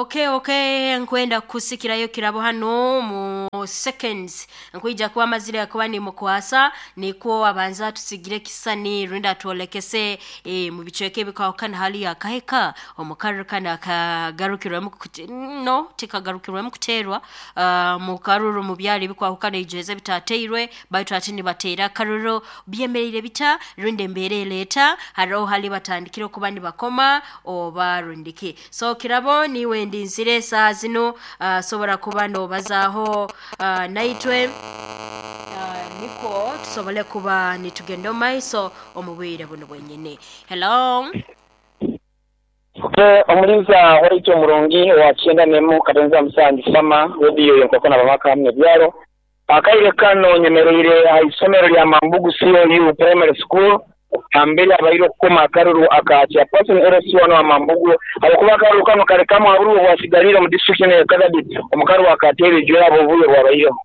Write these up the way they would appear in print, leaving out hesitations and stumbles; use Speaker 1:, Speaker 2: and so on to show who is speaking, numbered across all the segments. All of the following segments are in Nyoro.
Speaker 1: Okay, nkwenda kusikirayo kirabo hano mu seconds. Nkwija kuba amazire kuba nimukwasa nikwo abanza tusigire kisani rwenda twolekese mu bicweka ebikahukana hali akaheka omukaruru kana akagarukirwemu no tikagarukirwemu kuterwa mu karuru mu byali bikwahukana ijweza bitateirwe baitu ati nibateera akaruru byemereire bita rwenda embeera eleeta hariho hali batandikire okuba nibakoma oba rundiki. So kirabo niwe ndinzire saa zino sobora kuba nobazaaho naitwe niko tusobole kuba nitugenda omu maiso omu bwire buno bwenyini. Hello.
Speaker 2: Okay, omulinza waitu omurungi wa kyenda nemu Katenza Musangi Sama radio yenkoko na babaka hamwe byaro akaire kano nyemereire aha isomero lya Mambugu COU Primary School ambere abaire okukoma akaruru aka chairperson LC1 wa Mambugu abakuba akaruru kano kare kamwe aburu bwasigalire mu district ya Kagadi omukaru akateere jwera obubuye bwabaireho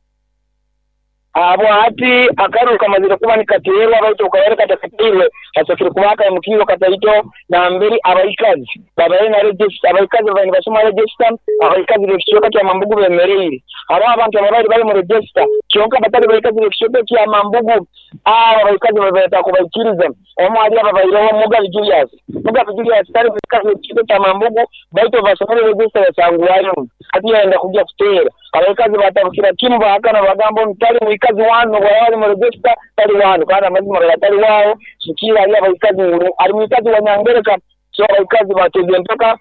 Speaker 2: abo ati akaruru kamazire kuba nikateerwa baitu okabaire katakateirwe hasokere kuba akaimukiiro kataito namberi abaikazi babaire na register abaikazi babaire nibasoma register abaikazi b'ekicweka kya Mambugu bemereire hariho abantu ababaire bari mu register kyonka batari baikazi b'ekicweka kya Mambugu abo abaikazi babaire takubaikiriza omwe hali ababaireho Mugabe Julius. Mugabe Julius tari mukazi w'ekicweka kya Mambugu baitu basomere register yasangwayo hati yayenda kujya kuteera abaikazi batabukira kimu bahakana bagamba nti tali muikazi wanu bwali mu register tali wanu kandi amazima gatali wawo sukira ali abaikazi ali muikazi wa Nyangereka. So abaikazi bateze mpaka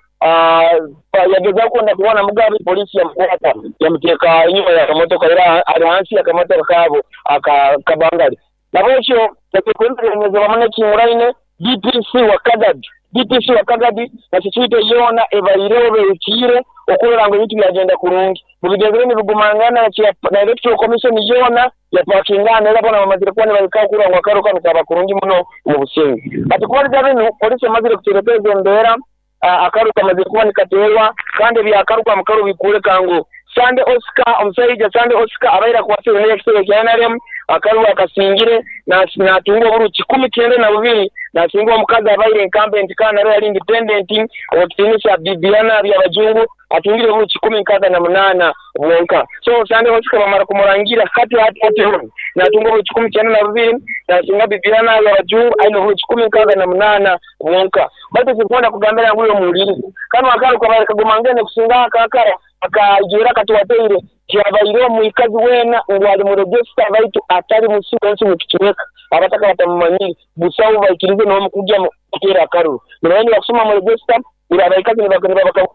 Speaker 2: yageza kwenda kuona Mugabe polisi yamukwata yamuteeka inyuma ya kamotoka era ali hansi ya kamotoka kabo akabangali nabwekyo tekwembereza bamwe kinguraine DPC wa Kagadi DPC wa Kagadi na security yona ebaireho bekiire okurora ngo ebintu byagenda kurungi mubigezere nibigumangana na electoral commission yona yapakingana era bona bamazire kuba nibareka kurora ngo akaruka nikaba kurungi muno mu businge. Ati kubaliza binu polisi yamazire kuterekeza embeera akaruka amazire kuba nikateerwa kandi ebyakaruka mukaru bikureka ngu Sande Oscar omushaija Sande Oscar abaire akwasire n'ekitebe kya NRM akaruka akasingire natunga oburu 92 nasinga omukazi abaire incumbent kandi nawe yali independent owekitiinisa Bibiana Byabajungu atungire oburu 168 bwonka. So Sande Oscar bamara kumurangira kati hati natunga oburu 92 nasinga Bibiana Byabajungu aine oburu 168 bwonka. Baitu sikwenda kugambira ngu uyo muwulirize kano akaruka baire kagumangene kusinga akakara akajura katuwateire kyabaire omuikazi wena ngu ali mu register baitu atali musiwensi mu kicweka abataka batamumanyire busawo baikirize n'omukujja kuteera akaruru nibaenda bakusoma mu register ira abaikazi nibabaka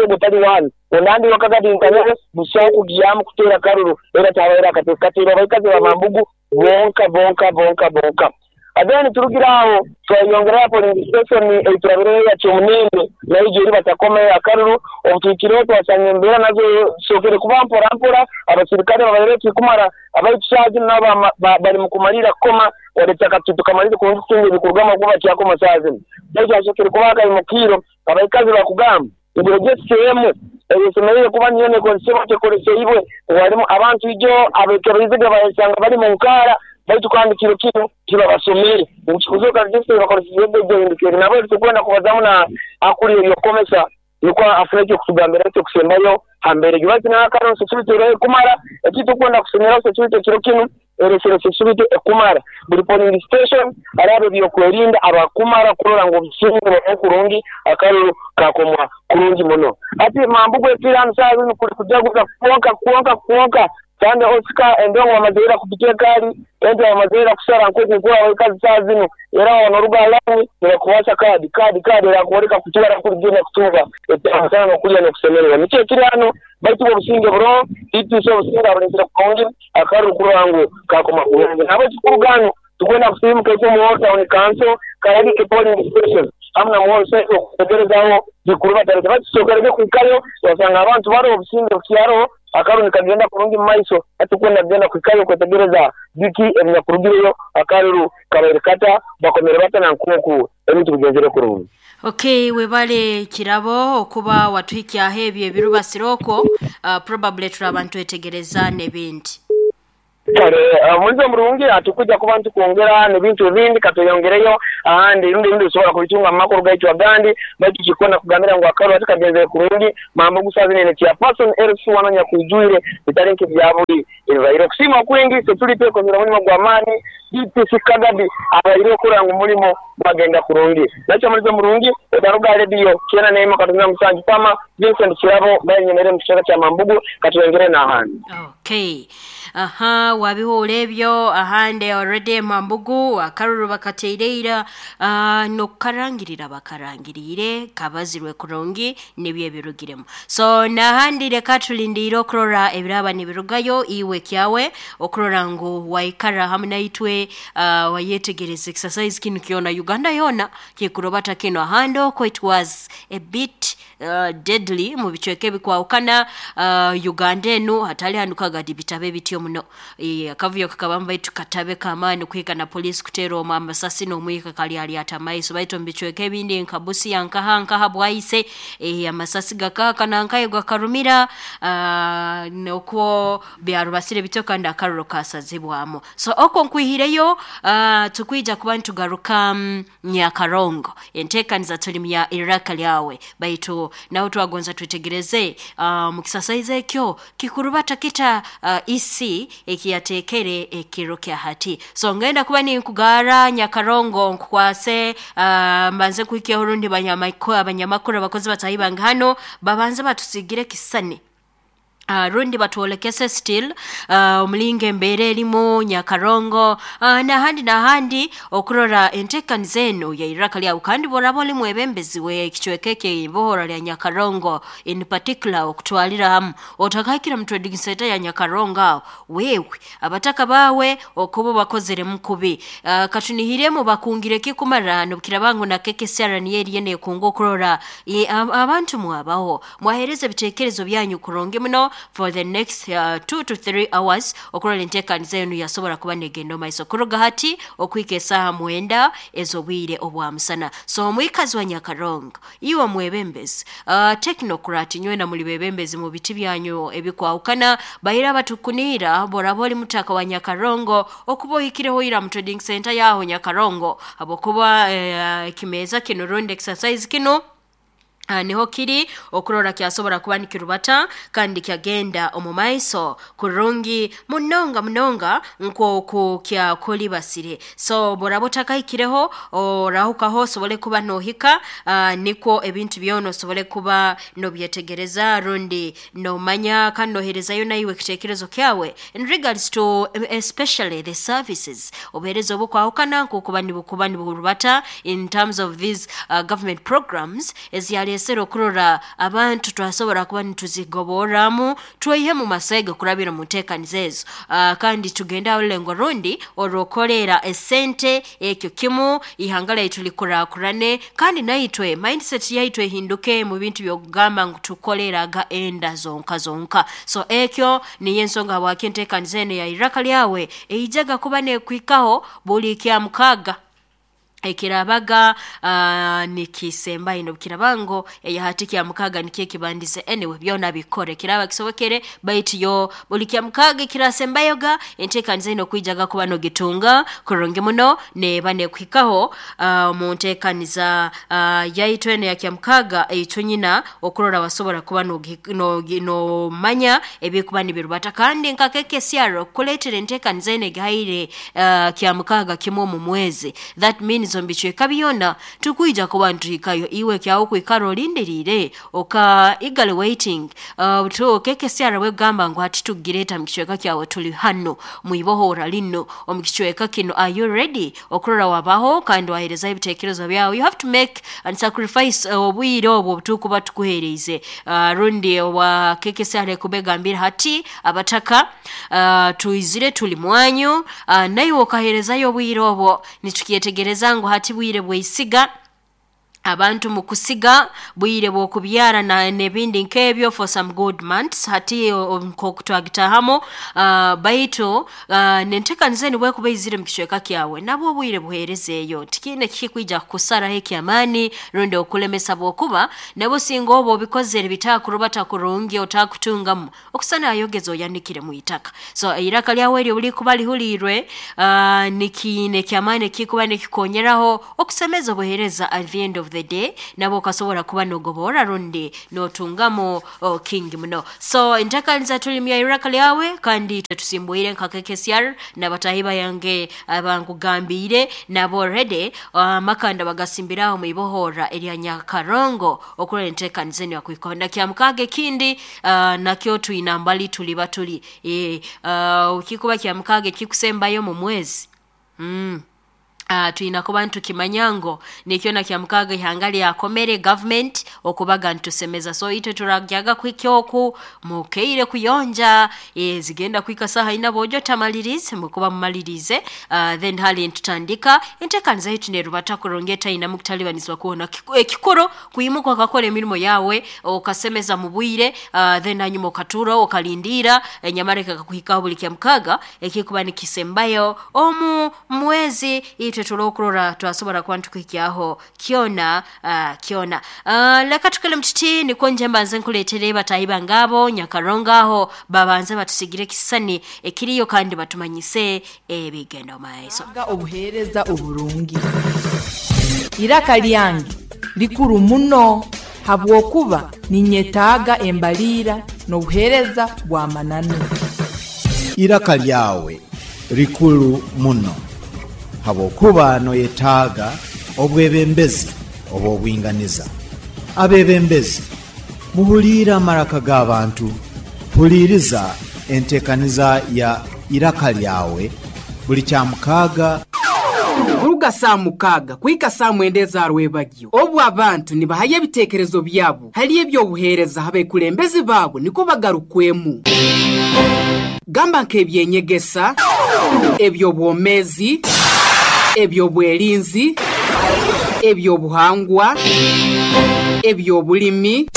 Speaker 2: gutali wanu onandi wakagadi nkanere busawo kugyamu kuteera akaruru era tabaire akateera abaikazi ba Mambugu bonka bonka bonka bonka. Adeni turugira aho twayongera polling station eiturabire ya Kyomunene nayo eri batakome akaruru obutukireho twasanga embeera nazo sokere kuba mpora mpora abasirikare babaire kumara abaitusazi nabo bari mu kumalira koma waletaka tukamalira kutunga ebikurugama kuba kyakoma sazi baitu asokere kuba akaimukiiro abaikazi bakugamba ngu register emu esemereire kuba niyo nekozesebwa tekoleseibwe walimu abantu ijo abekebeiziga bayesanga bari mu nkara baitu kandi kiro kino kibabasomere ngikuzoka register bakoresheje nabo tukwenda kubazamu na akuriye yokomesa niko afureke kutugambira cyo kusembayo hambere gibati na akaro security rero kumara ekitu kwenda kusomera security kiro kino eresere security ekumara buri polling station arabe byokwerinda abakumara kurora ngo bisingo kurungi akaruru kakomwa kurungi muno ati Mambugu ekira nsazi kuri kujaguza kuonka kuonka kuonka Sande Oscar endongo bamazira kupitia kali ente bamazira kusara nkuku kwa wekazi saa zino era wanoruga lani nibakuwasa kadi kadi kadi era kuoleka kutwara kurugenda kutunga etana kulya n'okusemererwa nikyo ekiri hano baitu obusinge buro itiso obusinge abalenzera kukongi akaru kurango kakoma kurungi nabo kikurugano tukwenda kusimuka ekyo mu town council kayali ke polling station hamna muhose okutegerezaho bikuru batarete bakisokerege kuikayo wasanga abantu bari obusinge bukyaro akaru nikagenda kurungi maiso atukwenda kugenda kuikayo kwetegereza biki ebinyakurugireyo akaruru kabaire kata bakomere bata na nkunku ebintu bigenzere kurungi.
Speaker 1: Okay, webale kirabo okuba watuhikyaho ebyo ebirubasiroko probably turabantu etegereza n'ebindi.
Speaker 2: Kale omulizo murungi atukuja kuba ntukwongera n'ebintu ebindi katweyongereyo ahandi rundi ebindi osobola kubitunga mu makuru gaitu agandi baitu kikona kugambira ngu akaruru kagenze kurungi Mambugu saaha zinu chairperson LC wananya kwijwire bitali nk'ebyabuli ebibaire okusiima kwingi tuli twekozera omulimo gw'amaani DPC Kagabi abaire okurora ngu omulimo gwagenda kurungi nakyo omulizo murungi otaruga rediyo 91.7 Fama Vincent Kirabo bayenyemere mu kicweka kya Mambugu katweyongere n'ahandi.
Speaker 1: Okay. Aha, wabihura ebyo ahandi already Mambugu akaruru bakateire n'okukarangirira bakarangiriire kabazirwe kurungi nibyo ebirugiremu. So n'ahandi reka tulindiire okurora ebiraba nibirugayo iwe kyawe okurora ngu waikara hamu naitwe wayetegereza exercise kinu kyona Uganda yona kikurobata kinu ahandi okwo it was a bit deadly mu bicweka ebikwahukana Uganda enu hatali hanu kagadi bitabe bityo muno akavuyo kakabamu baitu katabe k'amaani kuhika na poliisi kuteera omu amasasi n'omwika kalyalyata amaiso baitu omu bicweka ebindi nka Busia nkaha nkaha Bwaise amasasi gakaaka nankayo gakarumira nokwo byarubasire bityo kandi akaruro kasazibwamu. So okwo nkwihireyo tukwija kuba nitugaruka Nyakarongo enteekaniza tuli mya iraka lyawe baitu naho twagonza twetegereze mu kisasaiza ekyo kikurubata kita EC ekiyateekere ekiro kya hati. So ngenda kuba ninkugara Nyakarongo nkukwase mbanze kuhikyaho rundi abanyamakuru abakozi batahi bange hano babanze batusigire kisani rundi batwolekese still omulingo embeera erimu Nyakarongo n'ahandi n'ahandi okurora enteekaniza enu ya iraka lyawe kandi bworaba oli mwebembezi w'ekicweka eky'eibohora lya Nyakarongo in particular okutwalira hamu otakahikire mu trading center ya Nyakarongo aho wewe abataka bawe okuba bakozeremu kubi katunihiremu bakungire kikumara nobukiraba ngu na KKCR niyo eriyo neekunga okurora abantu mwabaho mwahereza ebiteekerezo byanyu kurungi muno for the next 2 to 3 hours okurora enteekaniza enu yasobora kuba negenda omu maiso kuruga hati okuhika esaaha 9 ez'obwire obwa musana. So omwikazi wa Nyakarongo iwe mwebembezi technocrat nywena muli bebembezi mu biti byanyu ebikwahukana baira batukunira boraba oli mutaka wa Nyakarongo okuba ohikireho ira mu trading center yaho Nyakarongo habwokuba ekimeeza kinu rundi exercise kinu niho kiri okurora kyasobora kuba nikirubata kandi kyagenda omu maiso kurungi munonga munonga nk'oku kyakulibasire. So boraba otakahikireho orahukaho osobole kuba nohika nikwo ebintu byona osobole kuba nobyetegereza rundi nomanya kandi noherezayo naiwe ekiteekerezo kyawe in regards to especially the services obuheereza obukwahukana nkokuba nibukuba niburubata in terms of these government programs eziyaleesere okurora abantu twasobora kuba nituzigoborramu tweihe mu masaiga kurabira mu nteekaniza ezo kandi tugende aho orulengo rundi orw'okukoleera esente ekyo kimu ihanga lyaitu likurakurane kandi naitwe mindset yaitu ehinduke mu bintu by'okugamba ngu tukoleeraga enda zonka zonka. So ekyo niyo ensonga habwaki enteekaniza enu ya iraka lyawe eijaga kuba neekuhikaho buli kyamukaaga ekirabaga nikisembayo nobukiraba ngu eyahati kyamukaaga nikyo ekibandize anyway byona bikore kiraba kisobokere baitu yo buli kyamukaaga ekirasembayoga enteekaniza enu okwijaga kuba nogitunga kurungi muno neeba nekuhikaho mu nteekaniza yaitu enu ya kyamukaaga eitunyina okurora wasobora kuba nomanya ebikuba nibirubata kandi nka KKCR okukuleetera enteekaniza enu egihaire kyamukaaga kimu omu mwezi that means omu bicweka byona tukwija kuba nituhikayo iwe kyawe okwikara olindiriire oka eagerly waiting KKCR bwekugamba ngu hati tukugireeta mu kicweka kyawe tuli hano mwibohora lino omu kicweka kinu are you ready okurora wabaho kandi waherezayo ebiteekerezo byawe. You have to make and sacrifice obwire obwo obutukuba tukuhereize rundi owa KKCR ekuba egambire hati abataka twizire tuli mwanyu naiwe okaherezayo obwire obwo nitukyetegereza ngu hati bwire bweisiga. Abantu mukusiga bwire bw'okubyara na n'ebindi nk'ebyo for some good months hati nk'oku twagitahamu baitu nenteekaniza enu bwekuba eizire mu kicweka kyawe, nabwo obwire buheerezeeyo. Tikiine kikwija kukusaraho eky'amaani rundi okulemesa, bwokuba nabwo singa oba obikozere bitakurubata kurungi, otakutungamu okusana ayogeza oyanikire mu itaka. So eiraka lyawe eryo bulikuba lihuliirwe, nikiine eky'amaani ekikuba nikikonyeraho okusemeza obuheereza. At the end of the day nabwo okasobora kuba nogoborra rundi notungamu kingi muno. So enteekaniza tulimya iraka lyawe, kandi itwe tusimbwire nka KKCR n'abataahi bange abankugambiire nabo already amakanda bagasimbiraho mu ibohorra erya Nyakarongo okurora enteekaniza enu yakuhikaho. Na kyamukaaga ekindi nakyo twina mbali tuliba tuli kikuba kyamukaaga ekikusembayo mu mwezi. Twina kuba nitukimanya ngu nikyo na kyamukaaga ihanga lyakomere government okubaga nitusemeza. So itwe turagyaga kuhika oku mukeire kuyonja, zigenda kuhika saaha ina boojo tamalirize, mukuba mumalirize, then hali nitutandika enteekaniza yaitu nerubata kurungi etainamu kutalibanizibwa kwona. Ekikuru kwimuka okakora emirimo yawe okasemeza mu bwire, then hanyuma okatuura okalindiira enyamara ekakuhikaho buli kyamukaaga ekikuba nikisembayo omu mwezi. Itwe turokurora twasobora kuba nitukuhikyaho kyona kyona. Leka tukole mututi nikwo nje mbanze nkuleetere bataahi bange abo Nyakarongo aho babanze batusigire ekisisani ekiriyo kandi batumanyise ebigenda omu maiso.
Speaker 3: Obuheereza oburungi. Iraka lyange likuru muno habwokuba ninyetaaga embaliira n'obuheereza bw'amananu.
Speaker 4: Iraka lyawe likuru muno habwokuba noyetaaga obwebembezi obw'obwinganiza. Abebembezi, muhuliire amaraka g'abantu. Huliiriza enteekaniza ya Iraka lyawe buli kyamukaaga.
Speaker 5: Kuruga saa 6 kuhika saa 9 eza rwebagyo, obu abantu nibahayo ebiteekerezo byabo hali eby'obuheereza abekulembezi baabo nikwo bagarukwemu. Gamba nk'ebyenyegesa, eby'obwomeezi, eby'obwerinzi, eby'obuhangwa, eby'obulimi,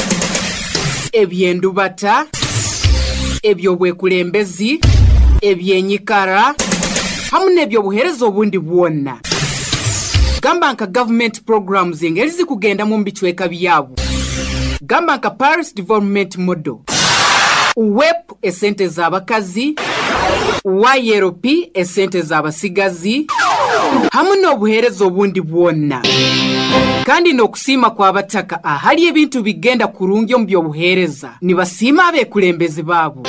Speaker 5: eby'endubata, eby'obwekulembezi, ebyenyikara, hamu n'ebyobuheereza obundi bwona. Gamba nka government programs engeri zikugendamu omu bicweka byabo. Gamba nka Parish Development Model, UWEP esente z'abakazi, YLP esente z'abasigazi, hamu n'obuheereza obundi bwona. Kandi n'okusiima kw'abataka ahali ebintu bigenda kurungi omu by'obuheereza, nibasiima abekulembezi baabo.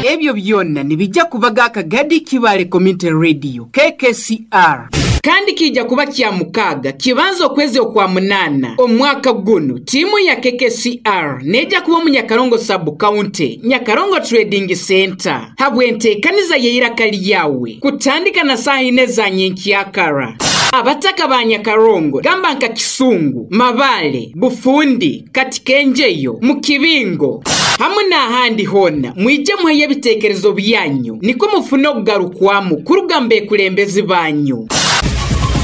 Speaker 5: Ebyo byona nibijja kubaga Akagadi Kibale Community Radio, KKCR. Kandi kiija kuba kya mukaaga kibanza okwezi okwa munaana omwaka gunu. Tiimu ya KKCR neija kuba omu Nyakarongo Sub County, Nyakarongo Trading Center, habw'enteekaniza y'eiraka lyawe kutandika na saaha ina eza nyenkyakara. Abataka ba Nyakarongo gamba nka Kisungu, Mabale, Bufundi, Katikenjeyo, Mukibingo hamu n'ahandi hoona, mwije muheyo ebiteekerezo byanyu nikwo mufune okugarukwamu kuruga mu bekulembezi banyu.